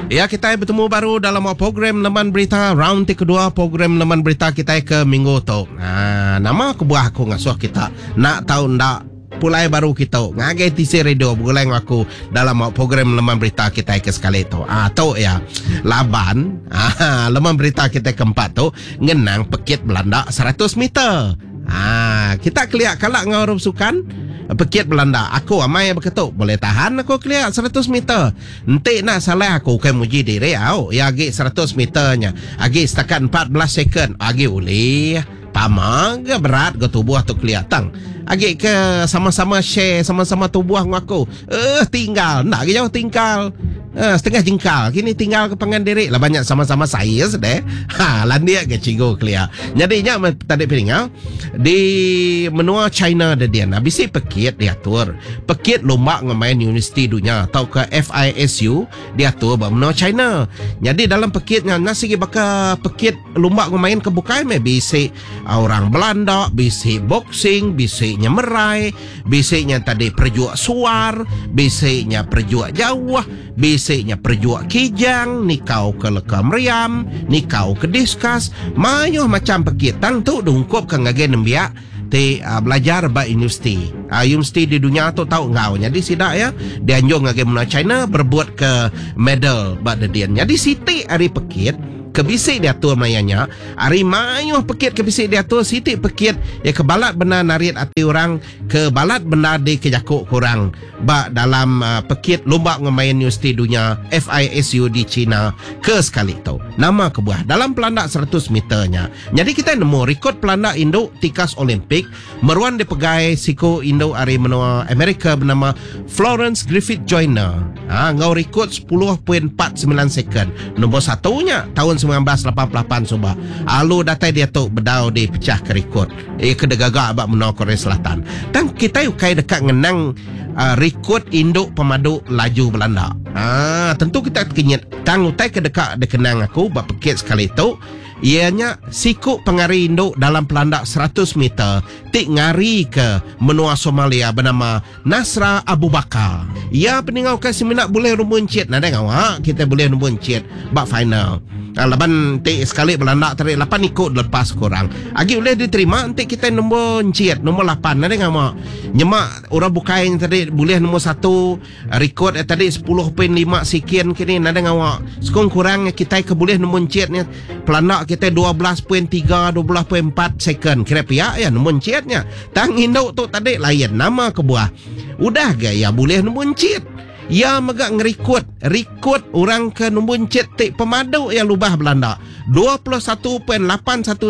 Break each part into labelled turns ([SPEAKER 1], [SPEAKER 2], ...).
[SPEAKER 1] Ya kitai betemu baru dalam program Leman Berita round ti kedua program Leman Berita kitai ke minggu tu. Ha, nama kebuah aku ngasuh kita nak tau enda pulai baru kitu ngagai tisi radio begulai enggau aku dalam program Leman Berita kitai ke sekali tu. Ah tu ya. Laban ah Leman Berita kitai keempat tu ngenang pekit belanda 100 meter. Ah kita kelia kala enggau orang sukan pekit belanda. Aku amai beketu boleh tahan aku kelia 100 meter. Enti enda salah aku ukai muji diri au iya agi 100 meter nya agi setakat 14 second agi ulih pama ga berat ga tubuh tu kelia tang agi ke sama-sama share sama-sama tubuh enggau aku eh tinggal enda agi jauh tingkal eh setengah jengkal kini tinggal ke pangan diri laban nya sama-sama saiz deh ha landik ga cikgu kelia nyadi nya meh tadi peninga di menua China dedin bisi pekit diatur Pekit Lumba enggau Main Universiti Dunya tauka FISU diatur ba menua China. Nyadi dalam pekit nya enda sigi baka pekit lumba enggau main ke bukai meh bisi orang belanda, bisi boxing, bisi nyemerai, bisi nya tadi perejuk suar, bisi nya perejuk jauh, bisi nya perejuk kijang, nikau ke leka meriam, nikau ke diskas, mayuh macham pekit tang tu diungkupka ngagai nembiak ti belajar ba universiti. Universiti di dunya tu tau enggau. Nyadi sida iya dianjung ngagai menua China berebutka medal ba dedin. Nyadi siti ari pekit ke bisi diatur maya nya, ari mayuh pekit ke bisi diatur siti pekit iya ke balat bendar narit ati orang ke balat bendar dikejaku ke orang ba dalam pekit Lumba enggau Main Universiti Dunya, FISU, di China ke sekali tu. Nama kebuah dalam pelanda 100 meter nya? Nyadi kitai nemu rikod pelanda indu tikas Olimpik meruan dipegai siku indu ari menua Amerika benama Florence Griffith Joyner ha, enggau rikod 10.49 second nombor satu nya taun 1988 suba alu datai diatu bedau dipechahka rikod iya ke digaga ba menua Korea Selatan. Tang kitai ukai deka ngenang uh, rikod indu pemadu laju belanda. Ha, tentu kita tekenyit tang utai ke deka dikenang aku ba pekit sekali tu Iya nya siku pengari indu dalam pelanda 100 meter ti ngarika menua Somalia benama Nasra Abubakar. Iya peningau ke semina bulih lumur enchit nadai ngawa kitai bulih lumur enchit ba final. Laban enti sekali belanda tadi lapan iku dilepas ke orang. Agi ulih diterima enti kitai nombor enchit nombor lapan nadai ngawa. Nyema orang bukai nya tadi bulih nombor satu Rikod iya tadi 10.5 sikin kini nadai ngawa. Sekung kurang kitai ke bulih nemu encit nya pelanda kitai 12.3 12.4 second kira pia iya nemu encit nya. Tang indu tu tadi lain nama kebuah. Udah ga iya bulih nemu encit. Iya mega ngerikod rikod orang ke nemu encit ti pemadu iya lubah belanda 21.81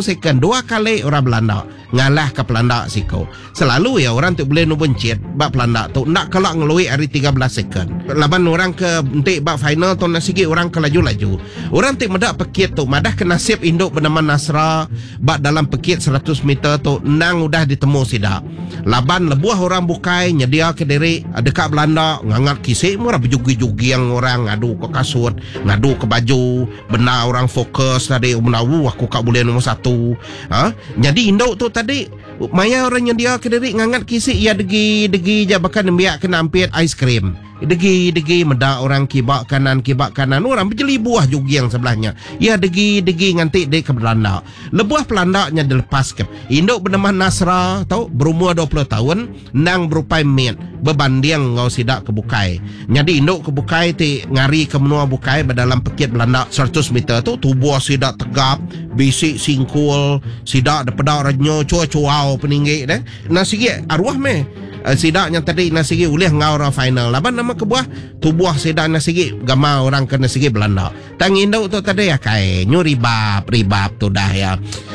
[SPEAKER 1] second dua kali orang belanda. Ngalahka pelanda siku. Selalu iya orang ti bulih nombor encit ba pelanda tu enda kala ngelui ari 13 second. Laban orang ke enti ba final tu enda sigi orang ke laju-laju. Orang ti meda pekit tu madahka nasib indu benama Nasra ba dalam pekit 100 meter tu endang udah ditemu sida. Laban lebuh orang bukai nyediaka diri deka belanda ngangat kisi meh orang bejugi-juging orang ngaduka kasut, ngaduka baju, bendar orang fokus tadi bendar wuh aku ka bulih nombor satu. Ha? Nyadi indu tu tadi maya orang nyendia ke diri ngangat kisi iya degi degi ja baka nembiak kena ampit ais krim. Degi degi meda orang kiba kanan kiba kanan orang bejeli buah juging sebelah nya. Iya degi degi nganti dek ke belanda. Lebuh pelanda nya dilepas ke indu benama Nasra tu berumur 20 taun endang berupai mit bebanding enggau sida ke bukai. Nyadi indu ke bukai ti ngarika menua bukai ba dalam pekit belanda 100 meter tu tubuh sida tegap, bisi singkul, sida dipeda renyu chua-chuau peninggi deh. Enda sigi aruh meh sida nya tadi enda sigi ulih enggau orang final laban nama kebuah tubuh sida enda sigi gamal orang ke enda sigi belanda. Tang indu tu tadi akai nyu ribap ribap tudah iya.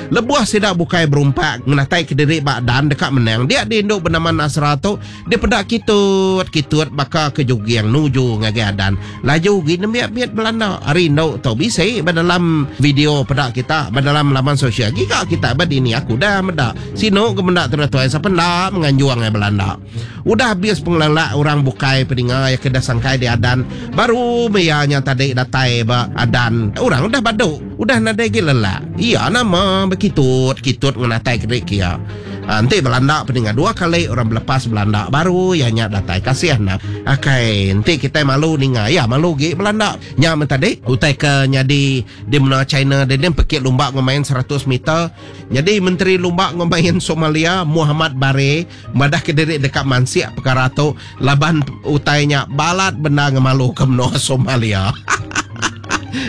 [SPEAKER 1] Lebuh sida bukai berumpak ngenatai kediri ba dan deka menang dia di indu benama Nasra tu dipeda kitut kitut baka ke juging nuju ngagai adan. Laju gi nembiak mit belanda ari indu tu bisi ba dalam video peda kita ba dalam laman sosial giga kita ba dini aku dah meda sinu ke menda tudah tuai sapa enda menganjung ai belanda. Udah abis pengelelak orang bukai peninga iya ke dah sangkai di adan, baru meh iya nya tadi datai ba adan. Orang udah badu, udah nadai agi lelak. Iya nama bekitut-kitut ngenatai ke diri ke iya. Enti belanda peninga dua kali orang belepas belanda baru iya nya datai. Kasih enda. Akai enti kitai malu ninga iya malu gi belanda. Nya men tadi utai ke nyadi di menua China deh din pekit lumba enggau main 100 meter. Nyadi Menteri Lumba enggau Main Somalia Muhammad Bare madah kediri deka mansik pekara tu laban utai nya balat bendar ngemaluka menua Somalia.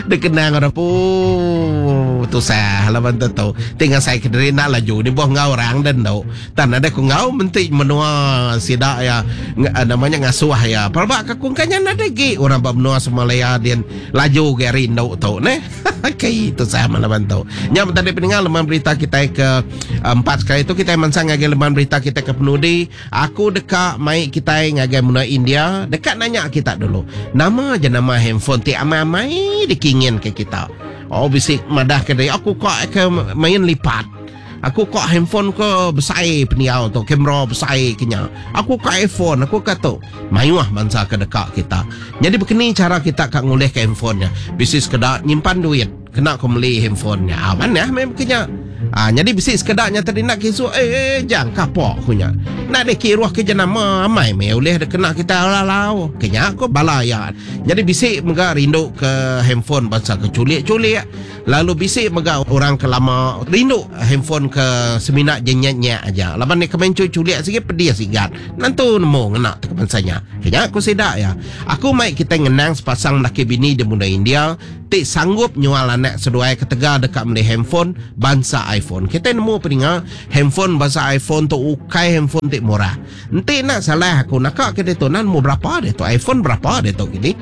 [SPEAKER 1] Dikenang orang puh tusah laban tu tu. Ti ngasai kediri enda laju dibuh enggau orang den tu. Tan nadai ku enggau menti menua sida iya nama nya ngasuh iya. Pelaba ka ku engka nya nadai gi orang ba menua Somalia din laju gi ari endu tu neh. Kai tusah meh laban tu. Nya tadi peninga leman berita kitai ke empat sekali tu kitai mansang ngagai leman berita kitai ke penudi. Aku deka mai kitai ngagai menua India deka nanya kita dulu. Nama jenama handphone ti amai-amai dikinginka kita? Oh bisi madahka diri aku ka ke main lipat. Aku ka handphone ke besai pendiau tu, kamera besai ke nya. Aku ka iPhone, aku ka tu. Mayuh bansa ke deka kita. Nyadi bekeni chara kita ka ngulihka handphone nya? Bisi sekeda nyimpan duit. Kena ku meli handphone nya. Ah, manah meh ke nya. Ah, nyadi bisi sekeda nya tadi nak kisu eh, eh jang kapok ku nya. Nak deh kiruh ke jenama amai meh ulih dek kena kita lalau. Ke nya ko bala iya. Nyadi bisi mega rindu ke handphone bansa ke culik-culik. Lalu bisi mega orang ke lama rindu handphone ke semina je nyek-nyek aja. Laban nya ke main culik-culik sigi pedis igat. Nentu nemu ngena te ke bansa nya. Ke nya ku sida iya. Aku mai kitai ngenang sepasang laki bini di menua India. ti sanggup nyual anak seduai ketegal deka meli handphone bansa iPhone. Kitai nemu peninga, handphone bansa iPhone tu ukai handphone ti murah. Enti enda salah aku naka ke ditu enda nemu berapa ditu iPhone berapa ditu kini.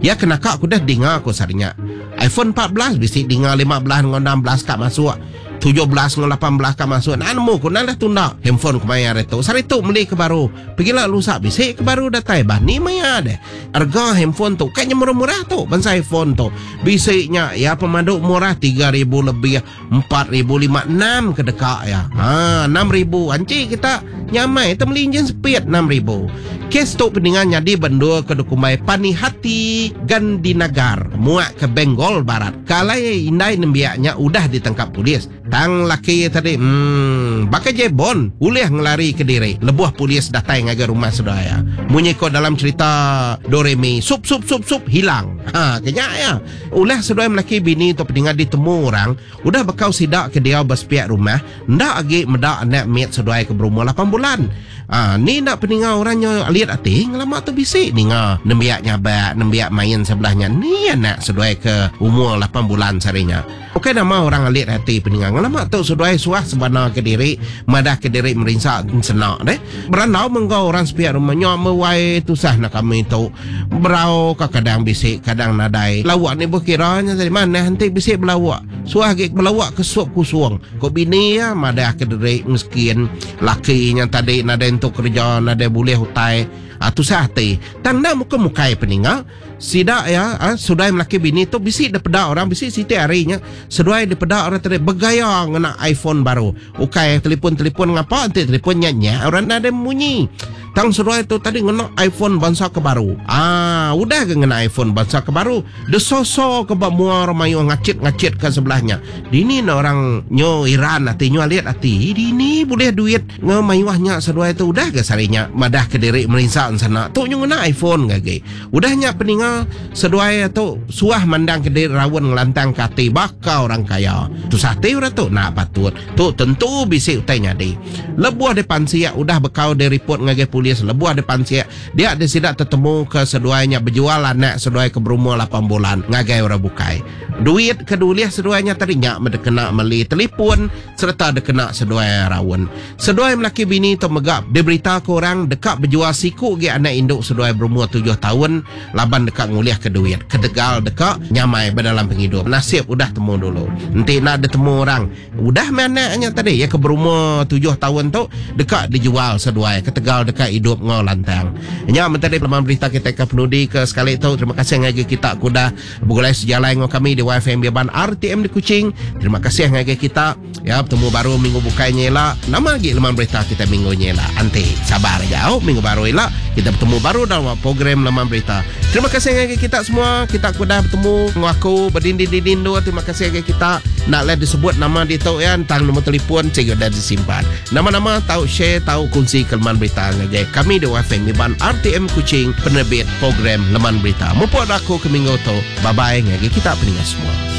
[SPEAKER 1] Iya ke naka aku deh dinga aku sehari nya. iPhone 14 bisi dinga 15 enggau 16 ka masuk. 17 enggau 18 ka masuk. Enda nemu ku enda dah tunda handphone kemaya hari tu. Sehari tu meli ke baru. Pegila lusa bisi ke baru datai bah ni maya deh. Rega handphone tu kai nya murah-murah tu bansa iPhone tu. Bisi nya iya pemadu murah 3000 lebih, 4000 5 6 ke deka iya. Ha 6000 anchi kita nyamai te meli enjin speed 6000. Kes tu peninga nyadi ba endur ke dikumbai Panihati Gandhinagar muak ke Bengal Barat ke alai indai nembiak nya udah ditangkap polis. Tang laki iya tadi emm baka Jebon ulih ngelari ke diri lebuh polis datai ngagai rumah seduai iya. Munyi ko dalam cherita Doremi sup sup sup sup hilang. Ha ke nya iya. Ulah seduai melaki bini tu peninga ditemu orang udah bekau sida ke diau ba sepiak rumah enda agi meda anak mit seduai ke berumur lapan bulan. Ha ni enda peninga orang nyo alit ati ngelama tu bisi ninga nembiak nyabak nembiak main sebelah nya ni anak seduai ke umur lapan bulan sehari nya. Ukai nama orang alit ati peninga ngelama tu seduai suah sebana ke diri madah ke diri merinsa ensena deh. Berandau meh enggau orang sepiak rumah nya meh wai tusah enda kami tu. Berau ka kadang bisi kadang nadai. Lauk ni bekira nya tadi manah enti bisi belauk. Suah agi belauk ke sup kusung. Ko bini iya madah ke diri miskin laki nya tadi nadai entu kereja nadai bulih utai. Tusah ati. Tang enda muka mukai peninga. Sida iya seduai melaki bini tu bisi dipeda orang bisi siti hari nya seduai dipeda orang tadi begaya ngena iPhone baru. Ukai telefon-telefon ngapa enti telefon nya nya orang nadai munyi. Tang seduai tu tadi ngena iPhone bansa ke baru. Ah udah ga ngena iPhone bansa ke baru deso-so ke ba mua orang mayuh ngachit-ngachit ka sebelah nya. Dini ne orang nyu iran ati nyu alit ati dini bulih duit nge mayuh nya seduai tu udah ga sehari nya madah ke diri merinsa ensana tu nyu ngena iPhone ga agi. Udah nya peninga seduai tu suah mandang ke diri raun ngelantang ke ati baka orang kaya. Tusah ati orang tu enda patut. Tu tentu bisi utai nyadi. Lebuh dipansik udah bekau diripot ngagai polis lebuh dipansik dia deh sida tetemu ke seduai nya bejual anak seduai ke berumur lapan bulan ngagai orang bukai. Duit ke diulih seduai nya tadi nya meh dikena meli telipun sereta dikena seduai raun. Seduai melaki bini tu mega diberitaka orang deka bejual siku agi anak indu seduai berumur tujuh taun laban deka ngulihka duit ketegal deka nyamai ba dalam pengidup. Nasib udah temu dulu. Enti enda ditemu orang, udah meh anak nya tadi iya ke berumur tujuh taun tu deka dijual seduai ketegal deka idup enggau lantang. Nya meh tadi leman berita kitai ke penudi ke sekali tu. Terima kasih ngagai kita ke udah begulai sejalai enggau kami di YFM Biaban RTM di Kuching. Terima kasih ngagai kita. Ya, betemu baru minggu bukai nya ila. Nama agi leman berita kita minggu nya ila. Anti, sabar aja au minggu baru ila. Kita betemu baru dalam program Leman Berita. Terima kasih ngagai kita semua. Kita ke udah betemu enggau aku bedindin-dindin endur. Terima kasih ngagai kita. Enda alai disebut nama ditu ya tang nombor telefon sigi udah disimpan. Nama-nama tau share tau kunsi ke Leman Berita ngagai kami di WFM Iban RTM Kuching penerbit program Leman Berita. Mupuk aku ke minggu tu. Bye bye ngagai kita peninga semua.